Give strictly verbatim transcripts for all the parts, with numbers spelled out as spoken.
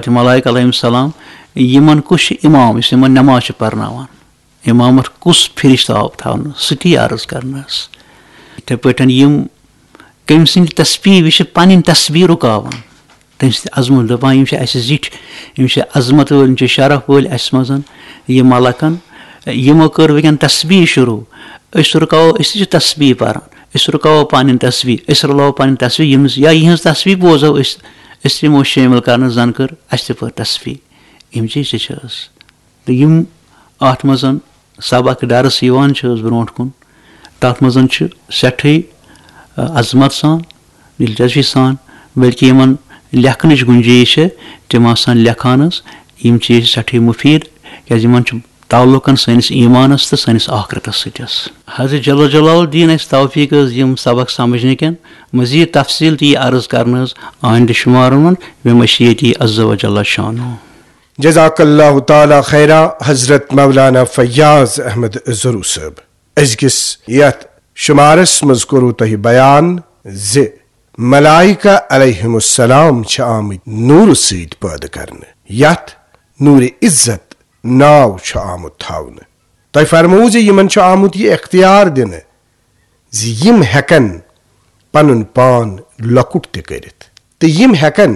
تہٕ ملائک علیہم السلام، یِمن کُس چھُ امام یُس یِمن نماز چھُ پرناوان؟ امامت کُس فرشتہٕ آو تھاونہٕ؟ سُہ تہِ عرض کرنس۔ یِتھے پٲٹھۍ یِم کٔمۍ سٕنٛدِ تسبیح، یہِ چھِ پنٕنۍ تسبیح رُکاوان۔ تٔمۍ سٕنٛدِ عظمت دپان، یِم چھِ اسہِ زِٹھۍ، یِم چھِ عظمت وٲلۍ، یِم چھِ شرف وٲلۍ اسہِ منٛز، یہِ ملکن۔ یِمو کٔر وٕنکیٚن تسبیح شروع۔ أسۍ رُکاوو، أسۍ تہِ چھِ تسبیح پران، أسۍ رُکاوو پنٕنۍ تسبیح، أسۍ رلاوو پنٕنۍ تسبیح، یِم یا یِہنٛز تسبیح بوزو أسۍ، أسۍ تہِ یِمو شٲمِل کرنہٕ، زن کٔر اسہِ تہِ پٔر تسبیح۔ یِم چیٖز تہِ چھِ حظ۔ تہٕ یِم اتھ منٛز سبق درس یِوان چھِ حظ برونٛٹھ کُن، تتھ منٛز چھِ سٮ۪ٹھٕے، آ، عظمت سان، دلچسپی سان، بلکہ یِمن لیکھنٕچ گُنجٲیِش چھِ، تِم آسان لیکھان حظ۔ یِم چیٖز چھِ سٮ۪ٹھٕے مُفیٖد، کیازِ یِمن چھُ تعلقن سٲنِس ایٖمانس تہٕ سٲنِس آخرتس سۭتۍ حظ۔ حضرت جل جلال الدین اَسہِ توفیٖق حظ یِم سبق سمجھنہٕ کٮ۪ن مزید تفصیٖل تہِ یہِ عرض کرنہٕ حظ آیندٕ شُمارن منٛز بمشیتی عز و جل شانہ۔ جزاک اللہ تعالیٰ خیرا حضرت مولانا فیاض احمد ضرو صٲب۔ أزکِس یتھ شمارس منٛز کوٚروٕ تۄہہِ بیان زِ ملائکہ علیہم السلام چھِ آمٕتۍ نوٗرٕ سۭتۍ پٲدٕ کرنہٕ، یتھ نوٗرِ عزت ناو چھُ آمُت تھاونہٕ۔ تۄہہِ فرموو زِ یِمن چھُ آمُت یہِ اختیار دِنہٕ زِ یِم ہٮ۪کن پنُن پان لۄکُٹ تہِ کٔرِتھ تہٕ یِم ہٮ۪کن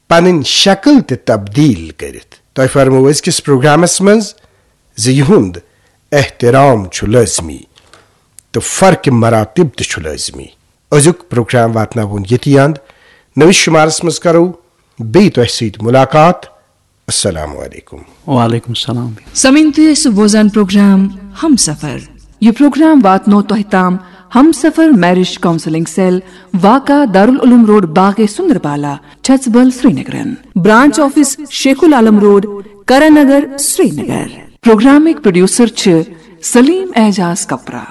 پنٕنۍ شکل تہِ تبدیل کٔرِتھ۔ تۄہہِ فرموو أزکِس پروگرامس منٛز زِ یِہُنٛد احترام چھُ لٲزمی تہٕ فرق مراتب تہِ چھُ لٲزمی۔ أزیُک پروگرام واتناوون ییٚتی اند۔ نٔوِس شُمارس منٛز کرو بیٚیہِ تۄہہِ سۭتۍ مُلاقات۔ السلام علیکم۔ وعلیکم السلام۔ سمعین تُہۍ ٲسِو بوزان پروگرام ہمسفر۔ یہِ پروگرام واتنو تۄہہِ تام ہمسفر میرج کاؤنسلنگ سیل، واقع دارالعلوم روڈ، باغ سندربالا، چھژبل، سرینگرن۔ برانچ آفس شیخ العالم روڈ، کرن نگر، سرینگر۔ پروگرامٕکۍ پروڈیوسر چھِ سلیم اعجاز کپرا۔